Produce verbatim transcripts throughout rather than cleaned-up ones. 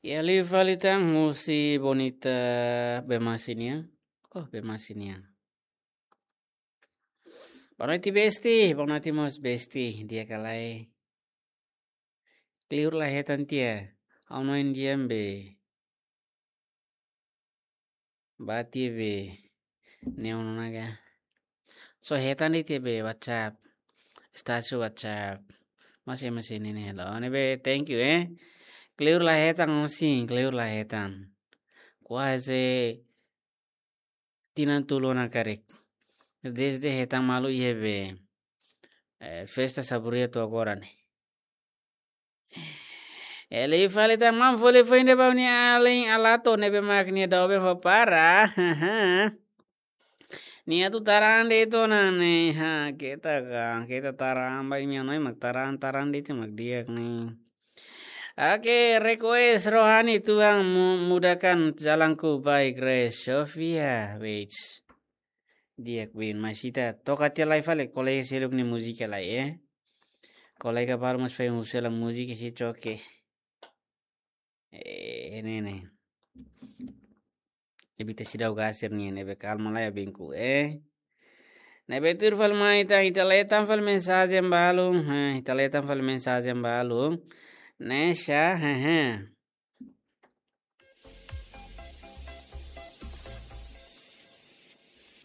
Iha liu fali tan husi Bonita Bemasi nian. Oh, Bemasi nian. Boa noite, Besti. Boa noite, mós Besti. Di'ak ka lae? Kleur la hetan tiha. Ha'u hanoin di'ak be. Bati be. Neon naga. So hetan de'it iha be WhatsApp. Status WhatsApp. Masih, masih ini nih. Halo, ne'ebé, thank you, eh. Kleur la hetan, osin, kleur la hetan. Kuaze tinan tolu ona karik. Desde hetan malu iha be, eh, festa Saburia to'o agora ne'e. Iha liu fali tan, maun, foli foin de'it ba nia alin Alato ne'ebé mak nia doben fó para. Nia atu taran de'it ona ne'e, ha, keta ka, keta taran ba imi hanoin mak taran, taran de'it mak di'ak ne'e. Oke, request Rohani, Tuhan mu-, mudahkan jalanku, by Grace Sofia, wait. Di'ak bin, mas ita toka tiha lai fali, kolega seluk nia múzika lai, eh. Kolega balu mós foin husu hela múzika sei toke. Eh, ne'e, ne'e. Evita seidauk gasir nian, ne'ebé kalma lai abinku, eh. Ne'ebé tuir fali mai ita, ita lee tan fali mensajen balu, eh, ita lee tan fali mensajen balu. Ne'e sá, hehe.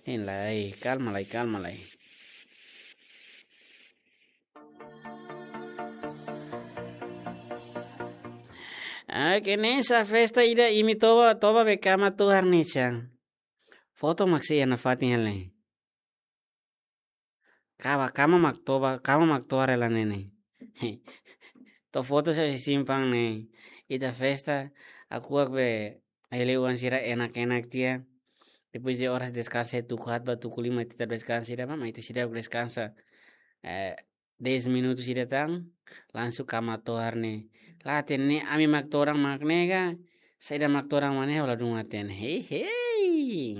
Hein lai, kalma lai, kalma lai. Ah, ke ne'e sá festa ida imi toba, toba be kama tohar ne'e sá. Foto mak sei iha nafatin hela ne'e. Kama, kama mak toba, kama mak tohar hela ne'e ne'e. To'o foto sá iha simpang ne'e. Ita festa, hakuak be, ai-hele oan sira enak-enak tiha. Depois de oras deskansa, tuku haat ba tuku lima ita deskansa ida, maibé ita seidauk deskansa. Eh, dez minutu ida tan, langsung kama tohar ne'e. La hatene ami mak todan mak ne'e ka, saida mak todan mak ne'e, ha'u ladún hatene. Hei, hei.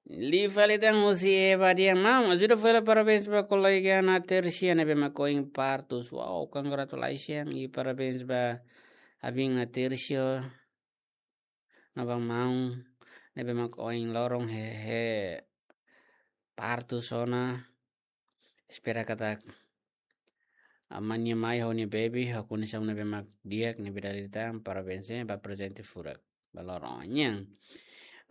Liu fali tan husi Eva dehan, maun, ajuda fó hela parabéns ba kolega Ana Tersia ne'ebé mak ohin partus. Wow, congratulations i parabéns ba abin Ana Tersia. No ba maun ne'ebé mak ohin loron he, he partus ona. Espera katak amanhã mai ho nia baby, ho kondisaun ne'ebé mak di'ak, ne'ebé dala ida tan, parabéns, eh, ba prezente furak ba loron nian.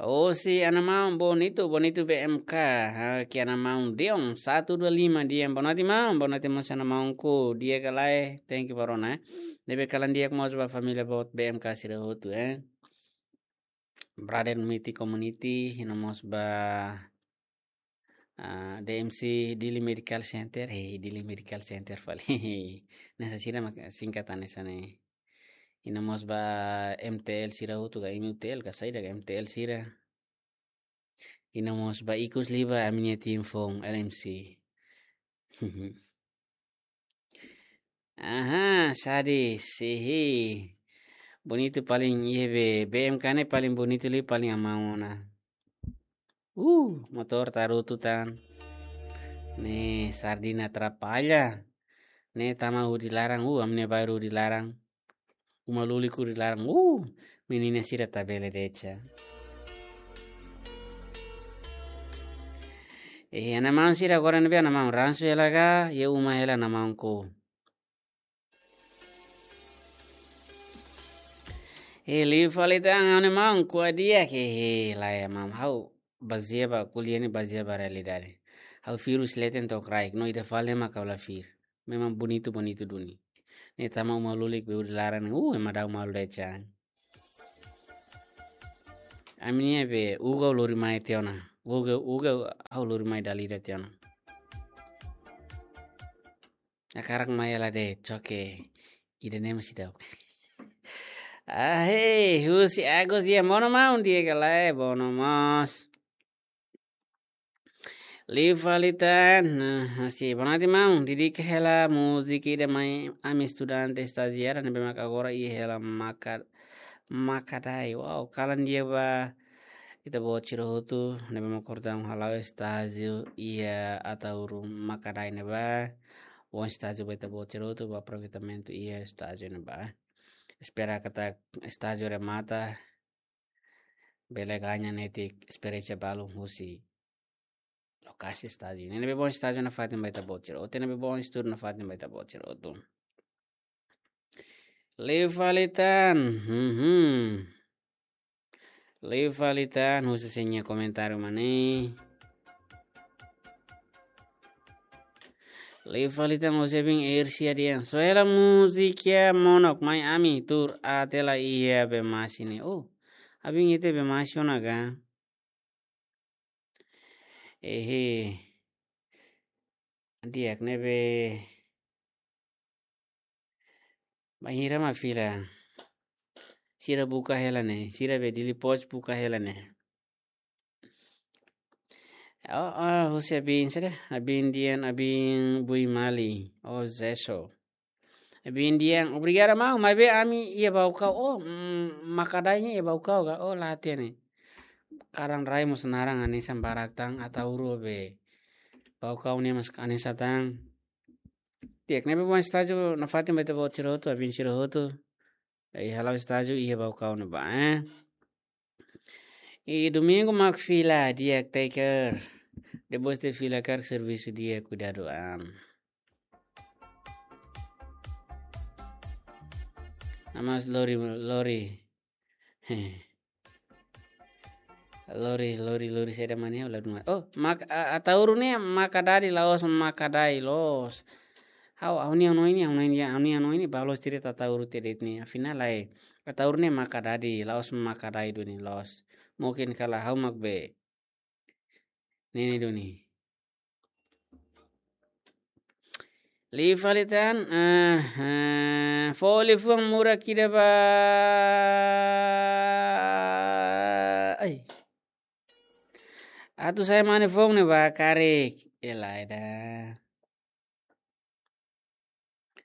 Hosi Ana Maun Bonitu, Bonitu B M K, ha, ke Ana Maun Deon, satu dua lima Deon, boa noite maun, boa noite mós Ana Maunku, di'ak ka lae, thank you ba rona, eh. Ne'ebé kalan di'ak mós ba família boot B M K sira hotu, eh. Brother Miti Community, i no mós ba, ah, D M C Dili Medical Center, hei, Dili Medical Center fali. Hanesan sira mak singkatan hanesan ne'e. I no mós ba M T L sira hotu ka M U T L ka saida ka M T L sira. I no mós ba ikus liu ba ami-nia tim foun L M C. Aha, Sadi, sihi. Bonitu paling, iha be, B M K ne'e paling bonitu liu paling amaun ona. Uh, motór tarutu tan. Ne'e, sardina atrapalla. Ne'e tama hudi laran, uh, ami-nia bairru hudi laran. Uma lulik hudi laran, uh, menina sira tabele de'it. Eh, Ana Maun sira agora ne'ebé Ana Maun ransu hela ka, iha uma hela Ana Maunku. Eh, liu fali tan Ana Maun, ko'alia ke, eh, lae maun, ha'u bazeia ba, ko'alia ne'e bazeia ba realidade. Ha'u virus leten to'o kraik, no ida fali mak ha'u la fir. Memang bonitu, bonitu duni. Ne'e tama uma lulik be hudi laran, uh, ema dau malu de'it. Ami-nia be, uga lori mai tiha ona. Uga, uga, ha'u lori mai dala ida tiha ona. Hakarak mai hela de'it, oke. Ida ne'e mós ida. Ah, hei, husi Agus dehan, boa noite maun, di'ak ka lae, boa noite mós. Liu fali tan, nah, hanesan, boa noite maun, dedika hela múzika ida mai ami estudante estajiáriu ne'ebé mak agora iha hela Maka-, Makadae. Wow, kalan di'ak ba ita-boot sira hotu ne'ebé mak kordaun hala'o estájiu iha Ataúro Makadae ne'ebá. bom estájiu ba ita-boot sira hotu, bom aproveitamentu iha estájiu ne'ebá. Espera katak estájiu remata, bele gaña netik esperiénsia balu husi lokasi estájiu. Ne'ebé bom estájiu nafatin ba ita-boot sira hotu, ne'ebé bom estudu nafatin ba ita-boot sira hotu. Liu fali tan. Mhm. Liu fali tan, husi sira-nia komentáriu mak ne'e. Liu fali tan, husi Abin Ersia dehan: Só hela múzika Monok, mai ami tuur até la iha Bemasi ne'e. Oh, Abin, ita iha Bemasi ona ka? Ehe. Di'ak, ne'ebé bainhira mak fila. Sira buka hela ne'e, sira be Dili Post buka hela ne'e. Oh, oh, husi Abin, sira, Abin dehan, Abin Bui Mali, oh, Zeso. Abin dehan, obrigada maun, maibé ami iha Baucau, oh, mm, Makadai ne'e iha Baucau ka, oh, la hatene. Karan rai mós naran hanesan barak tan, Ataúro be Baucau ne'e mós hanesan tan. Di'ak, ne'ebé bom estájiu nafatin ba ita-boot sira hotu, Abin sira hotu. Ai hala'o estájiu iha Baucau ne'ebá, eh. I domingu mak fila, di'ak, take care. Depois de fila karik servisu di'ak, kuidadu an. Amas lori, lori. Lori, lori, lori, saida mak ne'e, la duma. Oh, mak, a, Ataúro ne'e Makadadi la'ós Makadai loos. Ha'u, ha'u-nia hanoin ne'e, ha'u-nia hanoin ne'e, ha'u-nia hanoin ne'e, ba loos tiri Ataúro tiri ne'e. Afinál, lae, Ataúro ne'e Makadadi, la'ós Makadai duni loos. Mungkin kala ha'u mak be. Ne'e ne'e duni. Liu fali tan, ah, ah, fó liafuan murak ida ba. Ai. Atu sai mane foun ne'e ba karik. Elaida.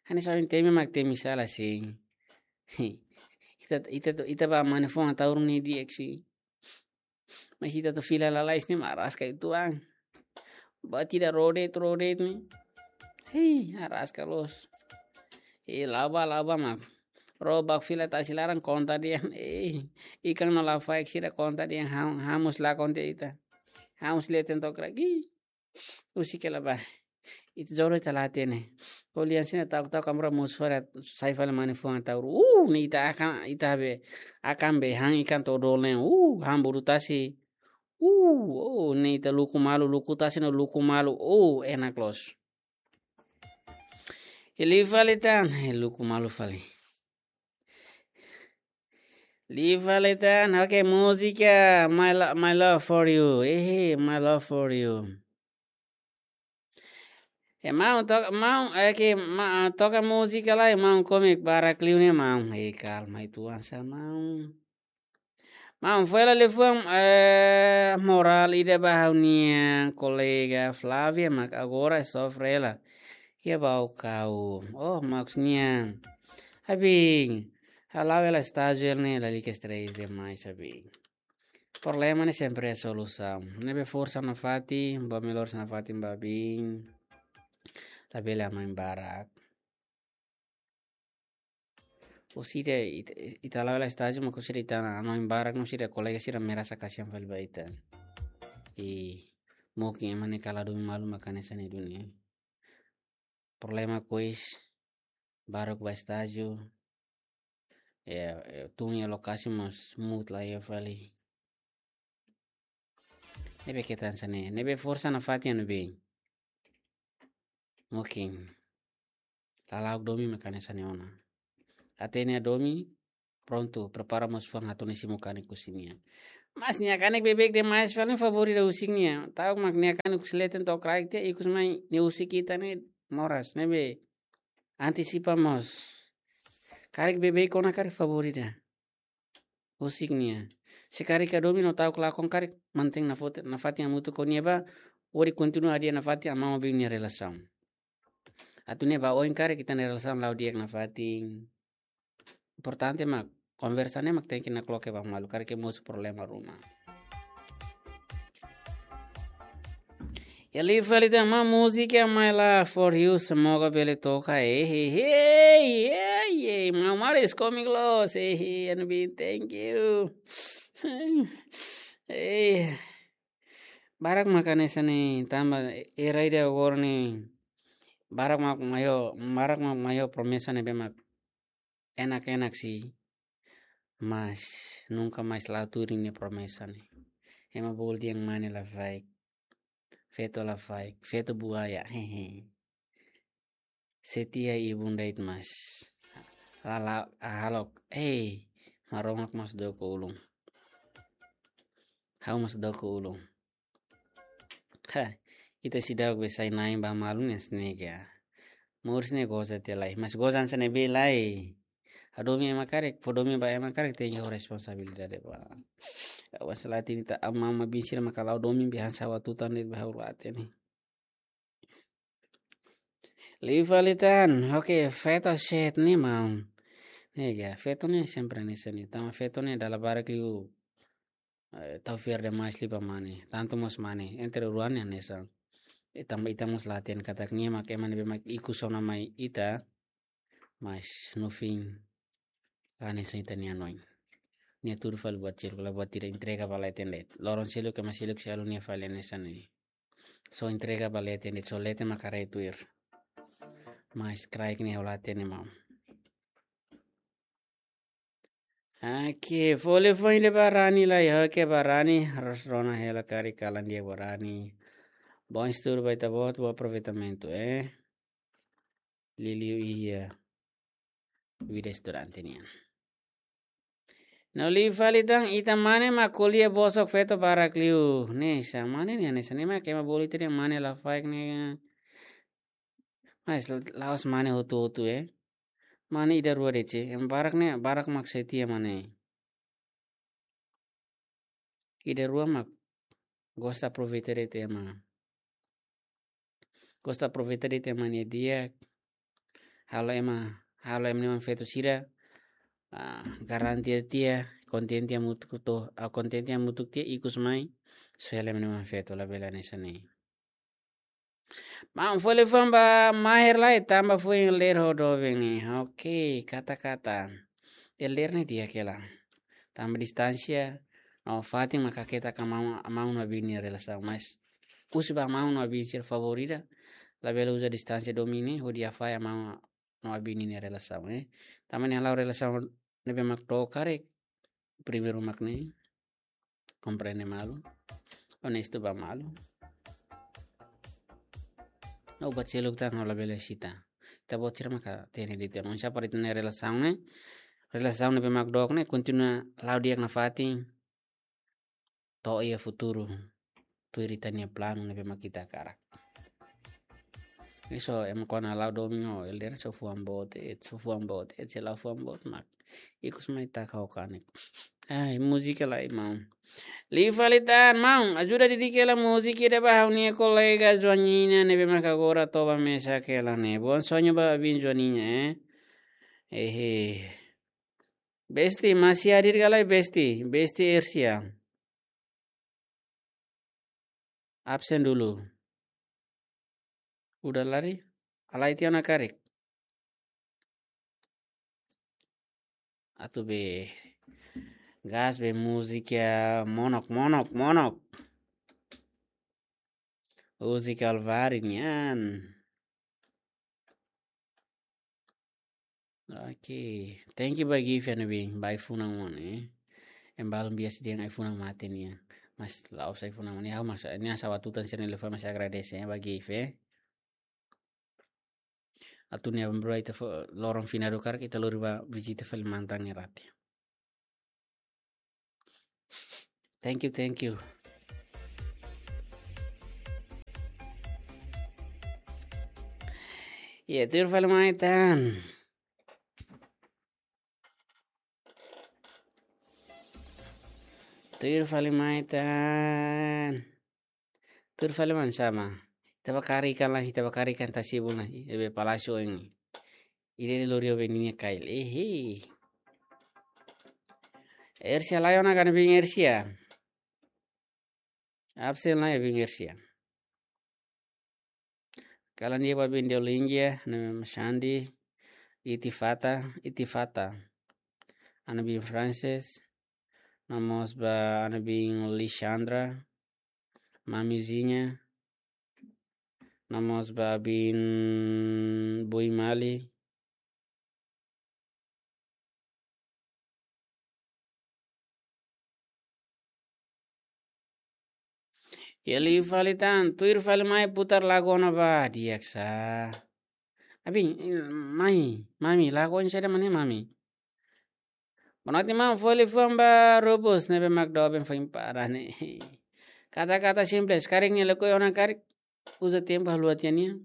Hanesan ohin temi mak temi sala sin. Ita, ita, ita ba mane foun Ataúro ne'e di'ak sin. Mas ita atu fila lalais ne'e mak araska uitoan. Ba tira rodet, rodet ne'e. Hei, araska loos. E la'o bá, la'o bá mak. Ró bá fila tasi laran konta dehan. Ei, ikan no lafaek sira konta dehan ham-, ha'u mós lakon tiha ita. Ha'u mós leten to'o kraik. Ih, husik hela bá. Ita jodoh ita la hatene. Ko'alia hanesan ne'e ta'uk-ta'uk amra mosu fali sai fali mane foun Ataúro. Uh, ne'e ita akan, ita be, akan be han ikan to'o dolen. Uh, han buru tasi. Uh, oh, ne'e ita luku malu, luku tasi no luku malu. Oh, enak loos. Liu fali tan, eh, luku malu fali. Liu fali tan, oke, múzika, my lo-, my love for you. Eh, my love for you. Eh, maun, toka, maun, eh, ke, ma-, toka múzika lai, maun, komik barak liu ne'e, maun. Eh, kalma uitoan sá, maun. Maun, fó hela liafuan, eh, morál ida ba ha'u-nia kolega Flávia, mak agora sofre hela. Iha Baucau. Oh, maksudnya. Abin, hala'o hela estájiu ne'e lalika estrés demais, abin. Problema ne'e sempre iha solusaun. Ne'ebé forsa nafatin, bá melhor nafatin ba abin. Labele hanoin barak. Husi ita, ita, ita hala'o hela estájiu, mak husi ita hanoin barak, no husi ita kolega sira merasa kasihan fali ba ita. I mungkin ema ne'e kala domin malu mak hanesan ne'e duni. Problema kois, baruk ba estájiu. Ya, ya, tun iha lokasi mós mood la iha fali. Ne'ebé ketan hanesan ne'e, ne'ebé forsa nafatin anu bem. Mungkin. Lala'ok domin mak hanesan ne'e ona. Hatene domin, prontu, prepara mós fuan atu nia simu kanek husi nia. Mas nia kanek beibeik demais fali favór ida husik nia. Ta'uk mak nia kanek husi leten to'o kraik tiha ikus mai nia husik ita ne'e moras, ne'ebé antisipa mós. Karik beibeik ona karik favór ida husik nia. Se karik iha domin no ta'uk lakon karik mantein nafot-, nafatin hamutuk ho nia ba, hodi kontinua hadi'a nafatin amá ho bibi nia relasaun. Atu ne'e ba oin karik ita-nia relasaun la'o di'ak nafatin. Importante mak konversa ne'e mak tenke nakloke ba malu, karik ke mosu problema ruma. Ya liu fali tan, maun, múzika My Love for You, semoga bele toka, eh, eh, eh, eh, eh, maun, Maris Comic Loss, eh, eh, N B, thank you. Eh, barak mak hanesan ne'e, tanba era ida agora ne'e, barak mak mai ho, barak mak mai ho promesa ne'ebé mak enak-enak sih, mas nunka mais la'o tuir nia promesa ne'e. Ema bolu dehan mane lafaek, feto lafaek, feto buaya, hehe. Setia ibun dait mas. Lala ahalok, eh, Maromak mas doko ulun. Ha'u mas doko ulun. Ha, ita seidauk be sai-na'in ba malu ne'e sneak ya. Moris ne'e goza tiha lai. Mas goza hanesan ne'ebé lai? Hadomi ema karik, fó domin ba ema karik tenke ho responsabilidade ba. Awas la tin ta ama ma bin sira maka la'o domin be hanesan ha'u atu tan ne'e be ha'u la hatene. Liu fali tan, oke, feto shet ne'e maun. Ne'e ya, feto ne'e sempre hanesan ne'e. Tanba feto ne'e dala barak liu, eh, tau fiar demais liu ba mane. Tantu mós mane, entre rua ne'e hanesan. Eh, tanba ita mós la hatene katak nia mak ema ne'ebé mak ikus ona mai ita. Mas no fim, la hanesan ita-nia hanoin. Nia tuur fali buat seluk, la buat ida entrega ba leten de'it. Loron seluk ema seluk sei halo nia fali hanesan ne'e. Só entrega ba leten de'it, só leten mak haree tuir. Mas kraik ne'e ha'u la hatene maun. Oke, fó liafuan ida ba Rani lai, oke, ba Rani, harus rona hela karik kalan di'ak ba Rani. Bom estudo, vai tá bom, bom aproveitamento, eh. Liuliu iha vida estudante nian. No liu fali tan, ita mane mak ko'alia bosok feto barak liu. Ne'e hanesan mane ne'e, hanesan ne'e mak ema bolu ita dehan mane lafaek ne'e. Mas la'ós mane hotu-hotu, eh. Mane ida rua de'it, ema barak ne'e, barak mak setia mane. Ida rua mak gosta aproveita de'it ema. Gosta aproveita de'it ema nia di'ak. Halo ema, halo ema nia oan feto sira, ah, garantia tiha, kontente hamutuk to'o, ah, kontente hamutuk tiha ikus mai, só hela ema nia oan feto, labele hanesan ne'e. Maun, fó liafuan ba Maher lai, tanba foin elder ho doben ne'e. Oke, katak-katak. Elder ne'e di'ak hela. Tanba distánsia, no fatin mak haketak maun, maun no abin nia relasaun. Mas, husi ba maun no abin sira favór ida, labele uza distánsia domin ne'e, hodi hafahe maun no abin nia relasaun, eh. Tanba ne'e halo relasaun ne'ebé mak dook karik, primeiru mak ne'e, komprende malu, onestu ba malu. No buat seluk tan ha'u labele sita. Ita-boot sira maka hatene de'it. Maun, sá para ita-nia relasaun ne'e, relasaun ne'ebé mak dook ne'e, kontinua la'o di'ak nafatin. To'o iha futuru, tuir ita-nia planu ne'ebé mak ita hakarak. Ne'e só ema kona la'o domin ho elder só fuan boot de'it, só fuan boot de'it, se la'o fuan boot mak ikus mai taka ho kanek. Ai, múzika lai maun. Liu fali tan maun, ajuda didik hela múzika ida ba ha'u-nia kolega Joaninha ne'ebé mak agora toba mesak hela ne'e. Bom sonho ba abin Joaninha, eh. Ehe. Besti, masih hadir ka lae, Besti? Besti Ersia. Absen dulu. Udah lari? Alai tiha ona karik. Atu be gas be múzika monok, monok, monok. Múzika Alvari nian. Oke, thank you ba gift ne'ebé, ba ai-funan ona, eh. Ema balun biasa dehan ai-funan mate nian. Mas la'ós ai-funan mate nian, ha'u mas, nia hanesan ha'u atu tan sira-nia liafuan mas agradese, eh, ba gift, eh. Atu nia bro ita fó loron finadu karik ita lori ba vizita fali mantan nia rate. Thank you, thank you. Ya, tuir fali mai tan. Tuir fali mai tan. Tuir fali mai sama. Ita bá kari ikan lai, ita bá kari ikan tasi buna. Ebe palasio ini. Ide de lorio beninia kail. Ehe. Ersia lai ona kan bin Ersia. Absen lai bin Ersia. Kalan di'ak ba biin Deolingia, ha'u-nia biin Xandi, Itifata, Itifata. Ha'u-nia biin Francis, no mós ba ha'u-nia biin Lisandra, Mamizinha, no mós ba biin Bui Mali. Iha liu fali tan, tuir fali mai putar lagu ona ba, di'ak sa. Abi, mai, mami, lagu oin saida mak ne'e mami. Bonoite maun, fó liafuan ba Rubus, ne'ebé mak doben foin para ne'e. Kata-kata simples, karik nia lakohi ona karik, uza tempu haluha tiha nia.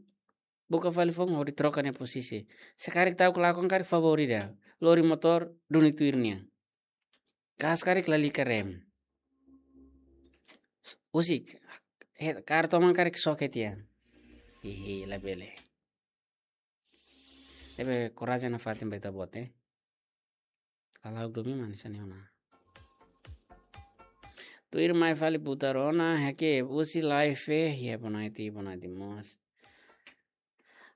Buka fali foun hodi troka nia posisi. Se karik ta'uk lakon karik favór ida. Lori motór duni tuir nia. Gas karik lalika rem. Husik. He, kaer toman karik soket ya. Hihi, labele. Ne'ebé korajen nafatin ba ita-boot, eh. Kalau dumi manis ani ona. Tuir mai fali putar ona, hake husi live, eh, ya bonoite, bonoite mós.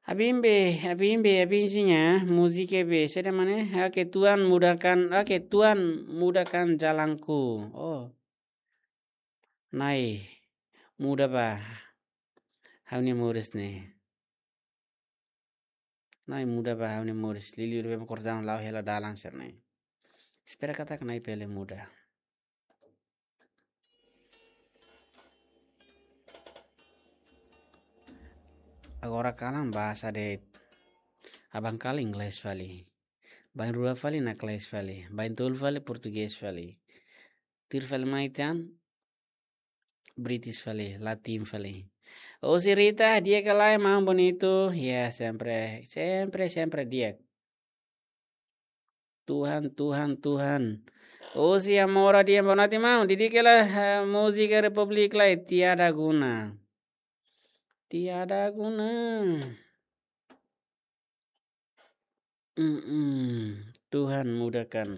Abin be, abin be, abin sinya, múzika be, saida mak ne'e, hake Tuhan mudahkan, hake Tuhan mudahkan jalanku. Oh. Na'i, muda ba ha'u-nia moris ne'e. Na'i, muda ba ha'u-nia moris. Liuliu ne'ebé mak korjaun la'o hela dalan sira-ne'e. Espera katak Na'i bele muda. Agora kalan bahasa de'it. Aban kalan inglés fali. Bainrua fali inglés fali. Baintolu fali portugés fali. Tuir fali mai tan British fali, Latin fali. Husi Rita, di'ak ka lae maun bonitu. Ya, sempre, sempre, sempre di'ak. Tuhan, Tuhan, Tuhan. Husi Amora, di'ak, bonoite maun. Di'ak ka lae, eh, múzika Republik lae, tiada guna. Tiada guna. Mm-mm. Tuhan mudahkan.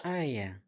Ah, ya.